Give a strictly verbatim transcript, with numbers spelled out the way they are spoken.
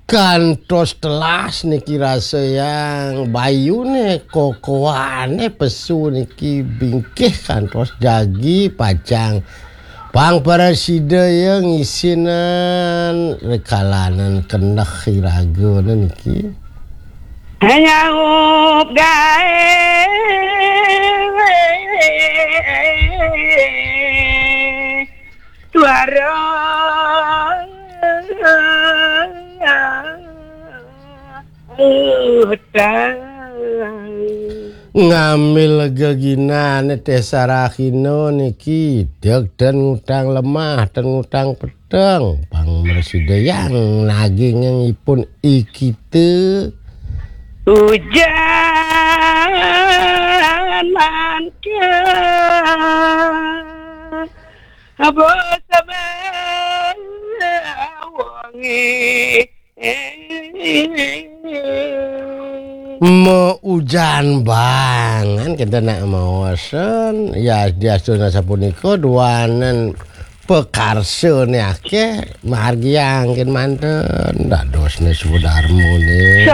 Kantos telas niki rasa yang bayune kokoane pesu niki bingkih kantos jagi pacang pang para sida ya ngisinan rekalanan kendeh iragane niki. Nyaup gae suara utang. Ngambil geginane teh sarahina niki dek dan ngutang lemah dan ngutang peteng pang mersida yang nagingipun ikite. Ujan manca apa sabar wangi. Mau ujan bangan kita nak mawasan ya diastuna sapunika duanen pekarsane akeh margi angkin manten dadosne sudarmune.